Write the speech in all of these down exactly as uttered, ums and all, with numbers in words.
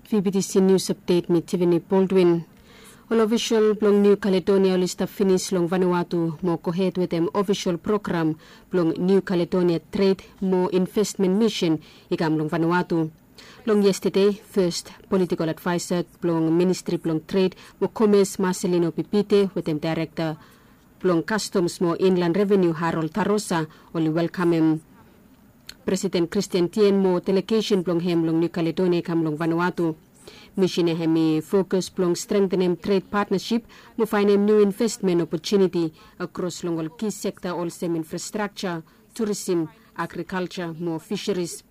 V B T C News Update, mi Tiffany Baldwin. Ol ofisol blong New Caledonia oli stap finis long Vanuatu mo gohed wetem ofisol program blong New Caledonia Trade mo Investment Mission i kam long Vanuatu. Long yestade, fes politikol advaesa blong Ministri blong Tred mo Komes, Marcelino Pipite, wetem Daerekta blong Kastoms mo Inland Revenu, Harold Tarosa, oli welkamem Presiden Kristian Tien mo delegesen blong hem long Niu Kaledonia i kam long Vanuatu. Misin ya hem i fokus blong strengtenem tred patnasip mo faenem niu investmen opotuniti akros long ol ki sekta olsem infrastrakja, turisim, agrikalja mo fisaris.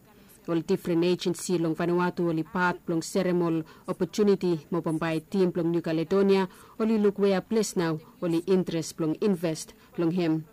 Ol difren ejensi long Vanuatu oli pat blong serem ol opotuniti mo bambae tim blong Niu Kaledonia oli luk wea ples nao oli interes blong invest long hem.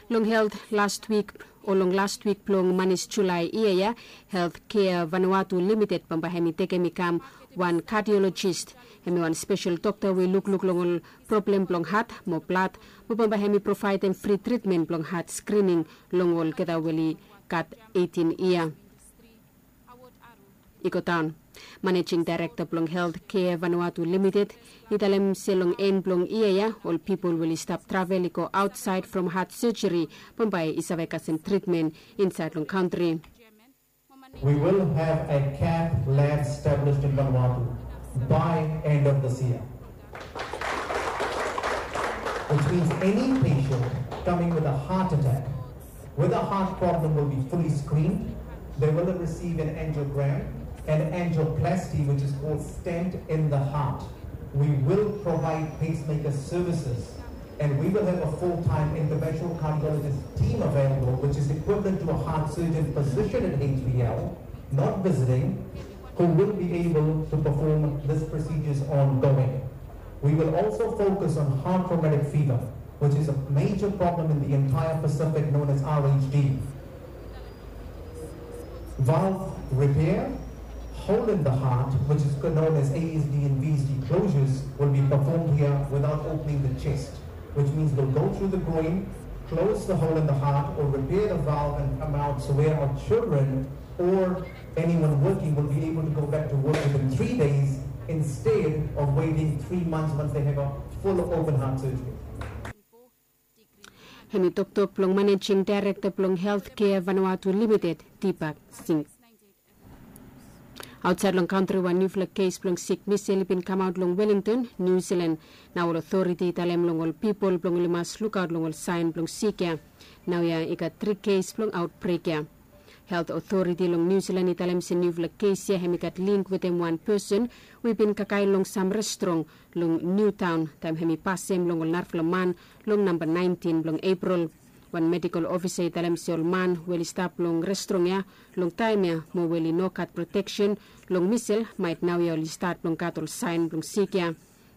Long helt last wik o long last wik blong manis Julae yia ya, Helt Kea Vanuatu Limited bambae hem i tekem i kam wan kardiolojis. Hem i wan spesel dokta we i lukluk long ol problem blong hat mo blad, mo bambae hem i provaedem fri tritmen blong hat skrining long olgeta we oli gat eitin yia i go daon. Manejing daerekta blong Helt Kea Vanuatu Limited i talem se long en blong yia ya, ol pipol we oli stap travel i go aotsaed from hat sejeri bambae i save kasem tritmen insaed long kantri. We will have a cath lab established in Vanuatu by end of this year, which means any patient coming with a heart attack, with a heart problem, will be fully screened. They will receive an angiogram and angioplasty, which is called stent in the heart. We will provide pacemaker services, and we will have a full-time interventional cardiologist team available, which is equivalent to a heart surgeon physician at H B L, not visiting, who will be able to perform these procedures ongoing. We will also focus on heart rheumatic fever, which is a major problem in the entire Pacific, known as R H D. Valve repair, hole in the heart, which is known as A S D and V S D closures, will be performed here without opening the chest, which means we'll go through the groin, close the hole in the heart, or repair the valve and come out. So where our children or anyone working will be able to go back to work within three days instead of waiting three months once they have a full open heart surgery. Hem i toktok blong manejing daerekta blong Helt Kea Vanuatu Limited, Deepak Singh. Aotsaed long kantri, wan niufala kes blong sik misel i bin kamaot long Wellington, Niu Silan. Nao ol otoriti i talem long ol pipol blong oli mas lukaot long ol saen blong sik ya. Naoia i gat tri kes blong aotbrek ya. Helt otoriti long Niu Silan i talem se niufala kes ya hem i gat link wetem wan pesen we i bin kakae long sam restrong long Niutaon taem hem i pasem long ol narafala man long namba naentin blong Epril. Wan medikol ofisa i talem se ol man we oli stap long restrong ya long taem ya mo we oli no gat proteksen long misel, maet naoia oli stat blong gat ol saen blong sik ya.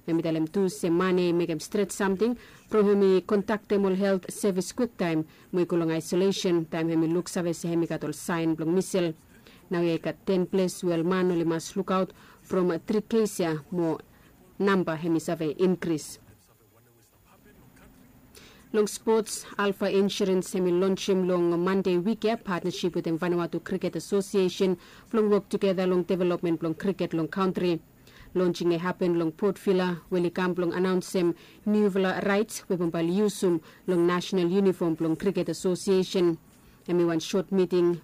Hem i talem tu se man ya i mekem stret samting from hem i kontaktem ol helt sevis kwiktaem mo i go long aesolesen taem hem i luksave se hem i gat ol saen blong misel. Naoia i gat ten ples we ol man oli mas lukaot from tri kes ya mo namba hem i save inkris. Long spots, Alfa Insurance hem i lonsem long Mande wik ya patnasip wetem Vanuatu Kriket Asosiesen blong wok tugeta long developmen blong kriket long kantri. Lonsing i hapen long Port Vila we oli kam blong anaonsem niufala raets we bambae oli yusum long nasenal yunifom blong Kriket Asosiesen. Hem i wan sot miting